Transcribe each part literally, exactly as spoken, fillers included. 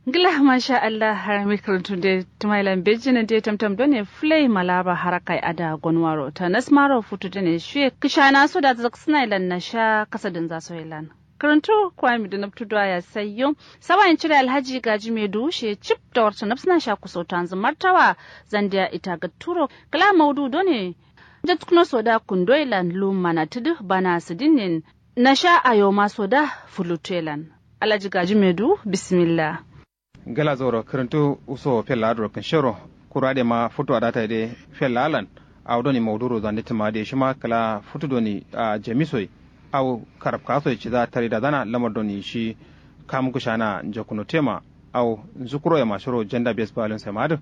Ngla masha allah. Harami kǝrǝntu de tǝmailan bejjǝ nǝ de tamtam done fǝlai malaba harakai ada gonwaro ta nasmaro futu done shiye kǝshana so da zaksǝnailan nasha kasadǝnza soyelan. Kǝrǝntu kwami dǝ nabtu duwa ya sayyo. Sawayin cire alhaji gaji medu shiye cip da warta nabsǝna sha kusotanzǝ martawa zandiya ita gatturo kǝla maudu done. Jatkǝno so da kundoilan lum manatǝdǝ bana sǝdinnin nasha ayoma so da fulutuyelan. Alhaji gaji medu, bismillah. Gala zauro kǝrǝntu uso fella adǝ ro kǝnshero. Kuru adǝ ye ma futu adata ye de fella alan. Awo doni maudu ro zande tǝma adǝ ye shima kǝla futu doni a jami soi. Awo karabka soi ciza tari dazana lamar doni shi kamu kǝshana njakuno tema. Awo nzukuro ye ma shiro janda bes balin sai ma adǝ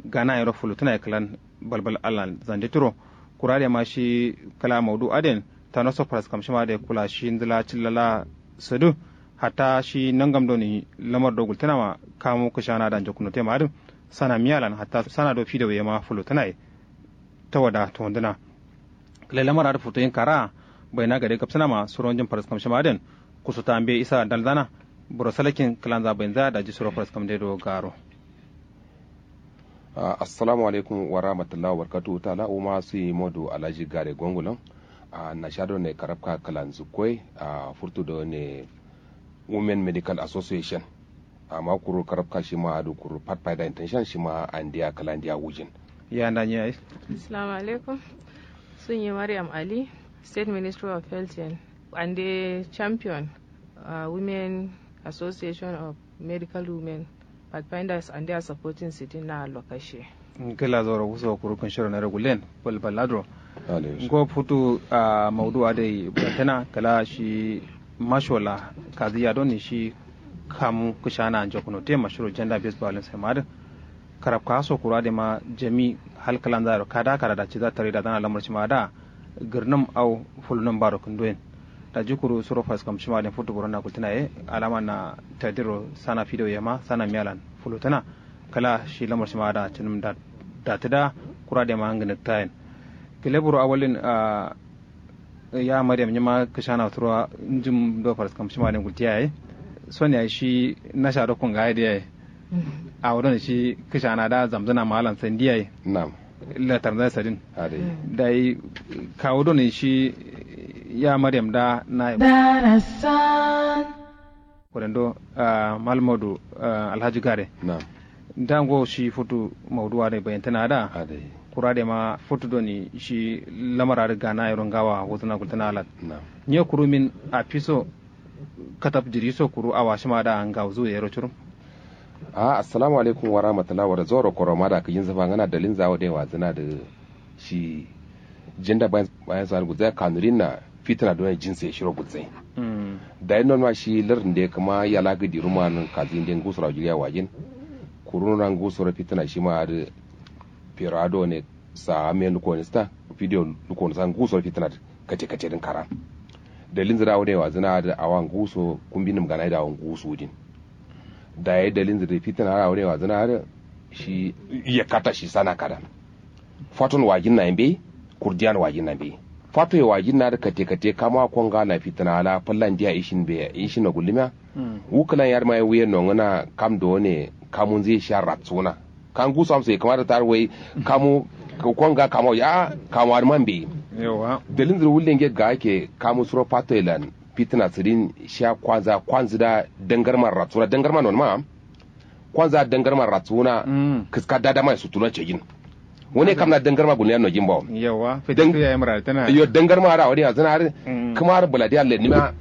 gana yero fulutuna ye kǝlan balbal alan zande turo. Kuru adǝ ye ma shi kǝla maudu adǝ yen tano so faraskam shima adǝ ye kula shi ndǝla cillala sǝdǝ. Hatta shi nangam doni lamar do gultǝna ma kamu kǝshana da njakuno tema adǝ sana miyalan hatta sana do fido ye ma fulutuna ye. Tawada tondǝna kǝle lamar adǝ futoyin kara baina gade gabsǝna ma suronjin faraskam shima adǝ yen kusuta mbe isa dalzana. Buro salakin kǝlanza bainza daji suro faraskam de do garo. Assalamu alaikum wa rahmatullahi wa barakatuhu ta'ala. Wuma suyi modu alhaji gare gongulon. Nasha done karabka kǝlanzǝ koi. Furtu done women medical association. Amma kuru karabka shima adǝ kuru pat faida intention shima andiya kǝlandiya wujin. Ya nda nyi ai. Assalamu alaikum. Sunyi mariam ali, state ministry of health yen. Ande champion women association of medical women. Pathfinders and they are supporting sitting na lokaci. Kǝla zauro wuso kuru kǝnshiro nare gullen. Balbal adǝ ro ngo futu. Maudu adǝ ye bǝrantǝna kǝla shi mashola kaziya doni shi kamu kǝshana njakuno tema shiro janda bes balin sai ma adǝ. Karabka so kuru adǝ ye ma jami hal kǝlanza yero kada kada da ciza tare dazana lamar shima da. Gǝrnǝm au fulnǝm baro kǝndoyen. Daji kuru suro faraskam shima adǝ yen futu burona gultǝna ye alama na tadiro sana fido ye ma sana miyalan fulutǝna. Kǝla shi lamar shima da cǝnǝm datǝ da kuru adǝ ye ma ngǝnǝkta yen. Kǝle buro awalin. Ya mariam nyima kǝshana suro njim do faraskam shima adǝ yen gultiya ye. Son yayi shi nasha do kunga ye diya ye. Awo done shi kǝshana da zamzǝna ma alan sandi yayi. Nam. Latar nzai sadin. Adai. Dai kawo done shi ya mariam da na darasan. Kurendo. Malmodu. Alhaji gare. Nam. Nda ngo shi futu maudu adǝ ye bayantana da. Adai. Kura dǝ ye ma futu done shi lamar adǝ gana yero ngawa wuzǝna gultǝna alan. Nam. Nye kuru min afiso. Kataf jiri so kuru awa shima da ngawuzu yero curum. Ahh assalamu alaikum warahmatullahi wara zauro koroma da kǝjin zǝfa ngǝna dalin zawo dai wazǝna dǝ. Shi jinda bayan so adǝ gulzai kanurin na fitǝna done jinse shiro gulzai. Dayi nonma shi lardǝ nde kǝma yala gǝdiruma nǝn kazi nde ngusura jiriya wajin. Kuru nona ngusuro fitǝna shima adǝ. Fero adone sa amen lukonista fidiyo lukonista ngusuro fitǝna dǝ. Kate kate dǝn karan. Dalilnzǝ dǝ awo dǝ ye wazǝna adǝ awa nguwuso kumbi nǝm ganayi dǝ awo nguwusu wudin. Dayi dalilnzǝ dǝ fitǝna adǝ awo dǝ ye wazǝna adǝ. Shi yakkata shi sana kadan. Faton wajinna ye mbeyi. Kurdiyan wajinna mbeyi. Fato ye wajinna adǝ kate kate kama konga na fitǝna ala fallan diya ishin mbeyi ishin no gullumya. Wu kǝlan yadǝma ye wuyen nongǝna kam done kamunzǝ ye shiya ratsuwuna. Ka nguso amso ye kǝma dǝ tar wai kamu. Konga kama wai a'a kama adǝ man beyi. Dalilnzǝ dǝ wulle nge gake kamu suro fato ye lan. Fitǝna sǝdin shiya kwanza kwanzǝ da dangarma ratsuna dangarma nonma. Kwanza dangarma ratsuna. Kǝska dadama ye sutuna cejin. Wane kam na dangarma gulniya nojin bawo. Yo dangarma adǝ awo dǝ yanzǝna adǝ. Kǝma adǝ bǝladiya lennimiya.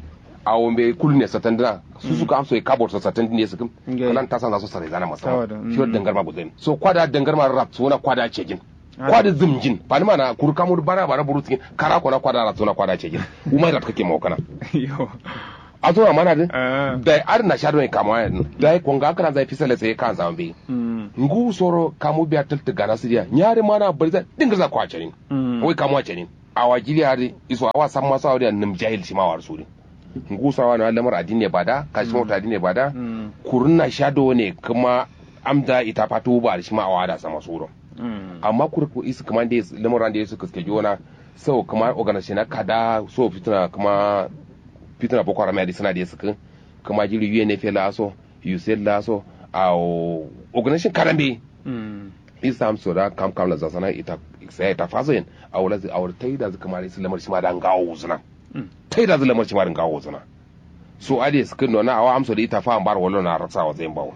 Awo mbeyi kulu ne satandǝna. Susu kam so ye kabor so satandǝ ne sǝkǝm. Kǝlan tasanza so saraizana masawa. Shiro dangarma gulzain so kwada dangarma adǝ ratsuna kwada cejin. Kwa dǝ zǝmjin fanǝma na kuru kamu dǝ bara bara buru sǝgin kara kona kwa dǝ ara sona kwa dǝ a cejin. Wuma dǝ rat kake mawo kana. Yo. Asuma mana dǝ. Dai adǝ nasha done kamawa yadǝ dai konga kǝranza ye fisa lesa ye kanza mbeyi. Ngusoro kamu biya tǝltǝ gana sǝdiya nya dǝ mana bari za dǝngǝrza kwa canin. Wai kamu a canin. Awa jiri adǝ iso awa samma so awo dǝ ya nǝm jahil shima awa dǝ sudin. Ngusa wano a lamar adinne bada kashima wuta adinne bada. Kurunna sha done kǝma amda ita fatu ba shima awa da sama suro. Amma kuru isǝ kǝma nde lamar ande isǝ kǝske jona. Sau kǝma organization na kada so fituna kǝma fituna boko haram ya disana de sǝkǝ. Kǝma jiri unfa la so usaid la so. awo organization kada mbeyi. Isa amso da kam kam la zasana ita saya ita faso yen. Awo la awo taida zu kamari su lamar shima da ngawo zuna. Taida zu lamar shima da ngawo zuna. So ade su kindo na awa amso da ita fa ambar wallo na raksa wa zain bawo.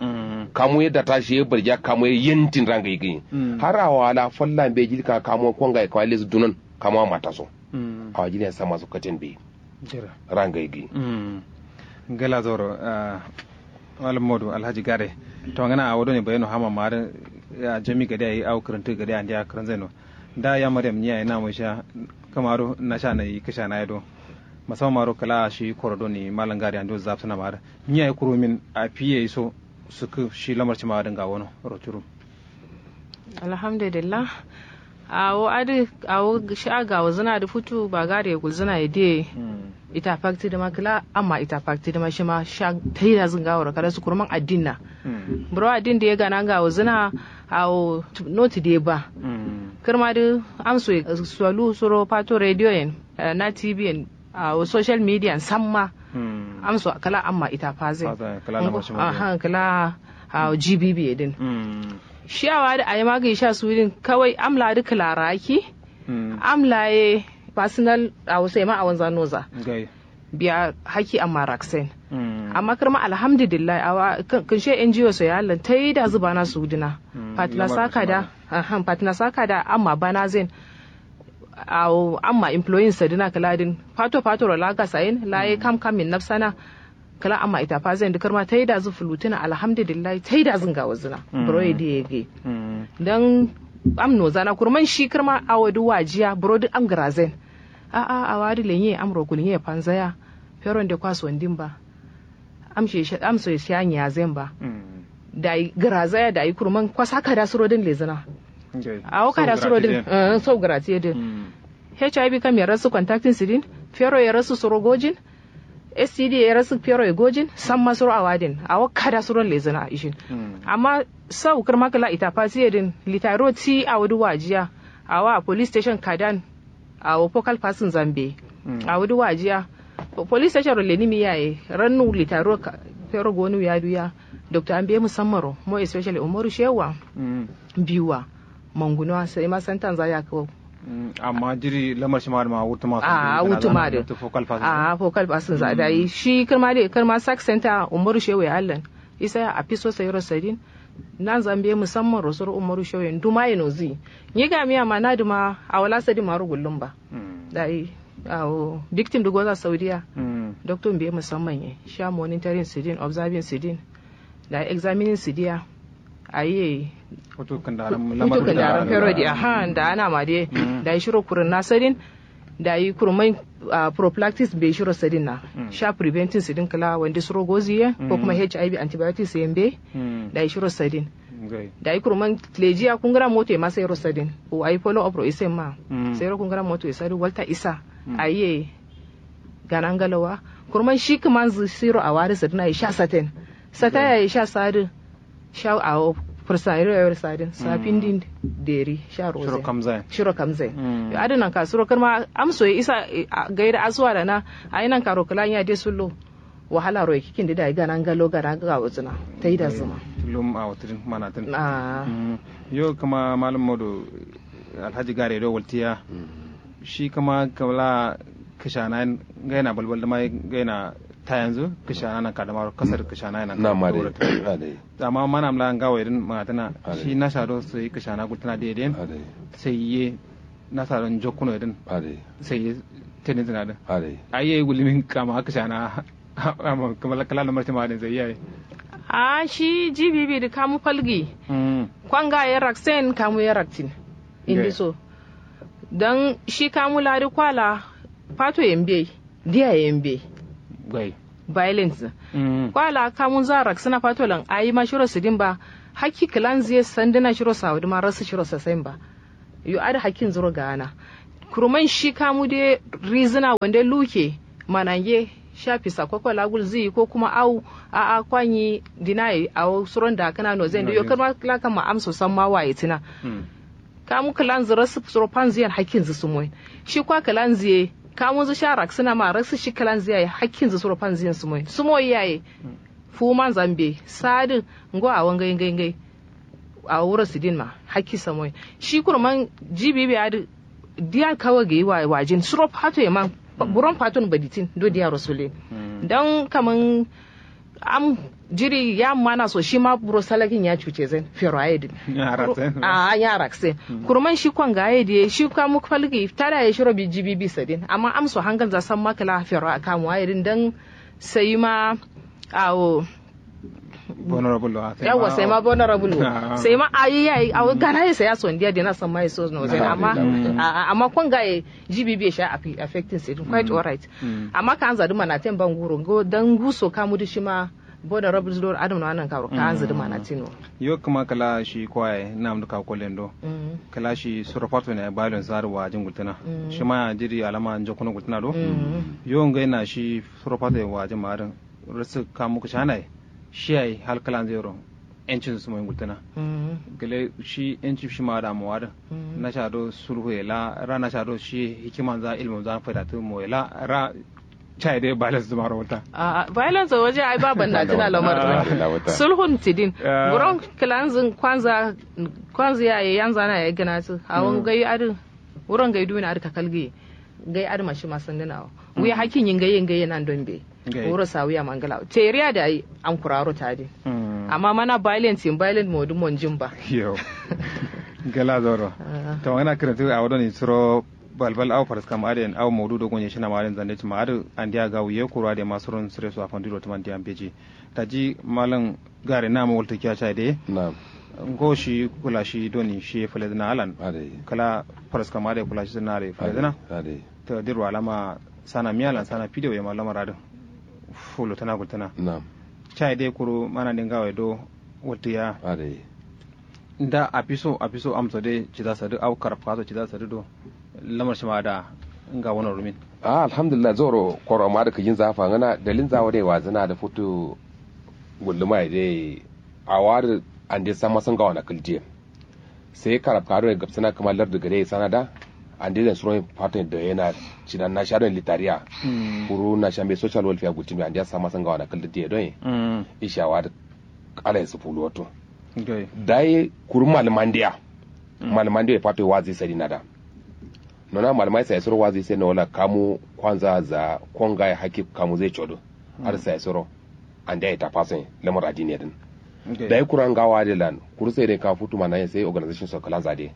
Kamu yadda ta shi barja kamu yantin ranga yi. Har awa la falla be jilka kamu konga kamar lezu dunan kamu mata so. Awa jiliya sama su katin be. Ranga yi. Gela zoro. Malam modu alhaji gare. To ngana awo doni bayano hama mare. Jami gade ayi awo kirinti gade andi a kirin zaino. Da ya maryam nyi ayi namu sha. Kamaru nasha nayi kisha nayi do. Musamman maro kala shi koro doni malam gare andi zafsuna mare. Nyi ayi kurumin a fiye iso. Suku shi lamar cima dinga wono. Roturu. Alhamdulillah. Awo adi awo sha gawo zina di futu ba gari ye gulzina ye diye. Ita fakti dima kila amma ita fakti dima shima sha taida zin gawo ro kada su kurman addinna. Buro addin diye gana gawo zina. Awo noti diye ba. Kirma di amso ye solu suro pato radio yen. Na tv yen. Awo social media samma. Amso kala amma ita faze. Kala awo gbb din. Shi awa di ayi magi sha su din kawai amla di kilara aki. Amla ye personal awo sai ma awon zanoza. Biya haki amma raksen. Amma kirma alhamdulillah awa kinshe ngo so ya allan taida zubana su dina. Patna saka da. Patna saka da amma bana zen. Awo amma employing sadina kala din fato fato ro laga sayin laye kam kam min nafsana. Kala amma ita fa zai dukar ma taida zu fulutuna alhamdulillah taida zun ga wazuna. Buro ya diye ge. Dan am no zana kurman shi kirma awo du wajiya buro duk am grazin. A a awa du lenye am ro kulnye panzaya. Feron de kwaso ndin ba. Am shi shi am so shi anya zai ba. Dai grazaya dai kurman kwasa kada suro din lezana. Awo kada suro din. Sau gratiye din. Hiv kam ya rasu contacting sidin. Fero ya rasu suro gojin. Std ya rasu fero ya gojin samma suro awadin awo kada suro lezana ishin. Amma sau kirma kala ita fasiye din litaro ti awo du wajiya. Awa police station kadan. Awo focal person zambe. Awo du wajiya. Police station ro leni mi yaye rannu litaro fero gonu ya duya. Doctor ambe musamman ro mo especially umaru shewa. Biwa. Mangunuwa sai ma santan za ya kawo. Amma jiri lamar shi ma da ma wutuma a wutuma da. A focal person za da yi shi karma da karma sac center umaru shewe allan. Isa ya afiso sai rosadin. Nan zambe musamman rosoro umaru shewe duma ya nozi. Ni ga miya ma na duma a wala sadin ma rugullun ba. Da yi awo victim da goza saudiya. Doctor be musamman ya sha monitoring sidin observing sidin. Da examining sidiya. Ayi. Hutu kandaran fero di aha da ana ma de. Da yi shiro kurin na sadin. Da yi kurmai prophylactics be shiro sadin na sha preventing sidin kala wanda suro gozi ye ko kuma hiv antibiotics ye be. Da yi shiro sadin. Da yi kurman lejiya kungura moto ye masa yero sadin. Ayi follow up ro ise ma sai ro kungura moto ye sadin walta isa. Ayi. Ganangalawa. Kurman shi kuman zu siro awari sadin ayi sha saten. Sata yayi sha sadin. Sha awo fursa iro yawar sadin safin din deri sha roze. Shiro kamzai. Shiro kamzai. Yo adin nan ka suro karma amso ya isa. Gaida asuwa da na ayi nan ka ro kala ya de sullo. Wahala ro ya kikin da da yi ganangalo ganangalo zuna. Ta yi da zuma. Lum a watirin manatin. Yo kuma malam modo. Alhaji gare do waltiya. Shi kuma kawla kashana gaina balbal da mai gaina ta yanzu kashana nan kadama kasar kashana nan na ma dai. Amma mana amla ngawo irin magana tana shi na shado sai kashana gultana daidai. Sai ye na shado jokuno irin. Sai ye tenin zina din. Ai ye gulimin kama kashana. Amma kuma kala na martima din sai yayi. A shi gbb da kamu falgi. Kwanga ya raksen kamu ya raktin. Indi so. Don shi kamu ladi kwala fato yambe diya yambe. Gai. Violence. Kwala kamu za raksina fato lan ayi ma shiro sidin ba. Hakki kilan ziye sandina shiro saudi ma rasu shiro sasain ba. Yo ada hakkin zuro gana. Kuruman shi kamu de rizina wande luke. Manange sha fisa koko lagul ziyi ko kuma au. A'a kwanyi dinaye awo suron da kana no zai yo karma lakan ma amso san ma waye tina. Kamu kilan zira suro panziyan hakkin zu sumoyin. Shi kwa kilan ziye kamu zu sha raksina ma raksu shi kilan ziyaye hakkin zu suro panziyan sumoyin sumoyi yaye. fuwumanza mbeyi sadǝ ngo awo ngai ngai ngai. Awo wuro sidin ma hakki samoyi shi kurman jibibi adǝ. Diya kawo gayi wajin suro fato ye man buron faton baditin do diya rosulin. Don kaman am jiri ya mana so shima buro salakin ya cuce zan fero aye din. A ya raksen. Kurman shi kwanga aye diye shi kamu falgi tada ye shiro bi jibibi sadin amma am so hangal za san makala fero akamu aye din don sayi ma. Awo. Bonorabul wa yawwa sai ma bonorabul wa sai ma ayi yayi awo gana ye sai ya sondiya dina san ma ye so no sai amma amma kon ga ye jibibi ye sha affecting sai quite alright. Amma ka anza duma na ten banguro go dan guso ka mudu shima bonorabul do adam no anan karo ka anza duma na tino. Yo kuma kala shi kwaye nam duka kolendo. Kala shi suro fato ne balon zarwa jingultana. Shima ya jiri alama njokuno gultana do. Yo ngai na shi suro fato wa jima din. Rǝsǝk kamu kǝshanaye. Shi yayi hal kǝlanzǝ yero encin sǝ moyi ngultǝna. Gǝle shi encin shima adǝ amowa dǝ. Nasha do sulhu ye la ra nasha do shi hikimanza ilmunza faidatǝ moye la ra. Caye dai violence dǝ maro wulta. A'a violence waje ai ba bannatǝna lamar dǝ sulhun tidin. Buron kǝlanzǝ kwanza kwanza yaye yanzana yaye gǝnatǝ awon gai adǝ. Wuron gai duwin adǝ kakalgǝye. Gai adǝ ma shima sandǝna wo. Wuye hakkin yi ngai ye ngai ye nandon be. Wuro sawiya mangla teriya da ai ankuraro tadi. Amma mana violent in violent modu monjin ba. Yo. Gala zoro. To ngana kirantu a wadon suro balbal au faraskam aden au modu dogon ye shina ma aden zande tuma adu andiya ga wuye kuro ade ma suron sure su afan diro tuman diyan beji. Taji malam gare na ma walta kiya chai de. Na'am. Ngo shi kula shi doni shi faledina alan. Kala faraskam ade kula shi na re faledina. To dirwa lama sana miyalan sana fidewo ye ma lamar adin. Fulu tana gultana. Chai dai kuru mana dinga wai do wultiya. Nda afiso afiso amso dai ciza sadu au karafka so ciza sadu do. Lamar shima da nga wono rumin. Alhamdulillah zoro koro ma da kijin zafa ngana dalin zawo dai wazina da futu. Gulluma dai. Awar ande sama sun ga wana kiltiye. Sai karab karo ya gabsana kuma lardu gare ya sana da. Ande zan suron faton da yana cinan na sharon litariya. Kuru na shambe social welfare gutin ande ya sama sanga wana kalda diye don. Ishawa da ala ya sufulu wato. Dai kuru malmandiya. Malmandiya fato wazi sai na da. Nona malmai sai suro wazi sai na wala kamu kwanza za konga ya haki kamu zai chodo. Har sai suro. Ande ai tafasin lamar adini din. Dai kura ngawa de lan kuru sai dai ka futu mana sai organization so kala zade.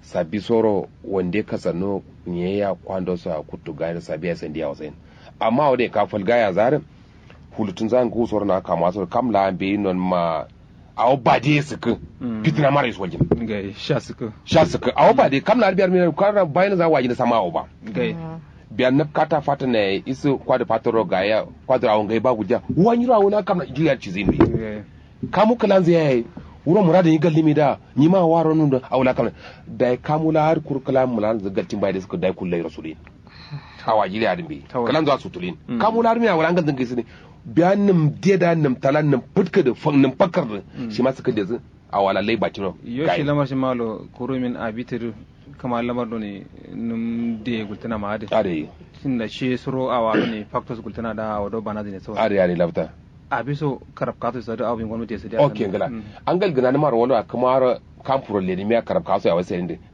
Sabi soro wande ka sanno nyeya kwando sa kutu gani sabi ya sandiya wasain. Amma wade ka falga ya zarin. Hulutun zan gu soro na kama soro kam la be non ma. Awo bade sik. Fitna mara is wajin. Sha sik. Sha sik awo bade kam la biyar mina kara bayin za wajin sama awo ba. Biya nǝpkata fatǝna yayi isǝ kwadǝ fatǝro gaya kwadǝro awo ngai ba gulja. Wanyiro awo na kamna juya cizǝ yindi. Kamu kǝlanzǝ yayi. Wuro muradǝ nyi galdǝmi da. Nyima waro nǝm dǝ awo la kamna. Dayi kamu la har kuru kǝla mulanzǝ galtin bai dǝ sǝkǝ dayi kullairo sudǝ yin. Awo ajiri adǝ mbeyi kǝlanzǝ wa sutulǝ yin. Kamu la har miya wula ngalzǝ ngai sǝdǝ. Biya nǝm diye da nǝm tala nǝm fǝtkǝ dǝ nǝm fakkar dǝ. Shima sǝkǝ dezǝ. Awala lai batiro. Yo shi lamar shi malo kurumin abitiri. Kǝma lamar done nǝm de gultǝna ma adǝ. Adǝ. Shinda shi suro awa done factors gultǝna da awa do bana zine so. Adǝ adǝ labta. Abiso karab kaso sadu awa bin gwamnati sadu. Ok ngla. Angal gǝna nǝmar wala kǝmar. Kam furo leni miya karab kaso ya wai sai ndǝ.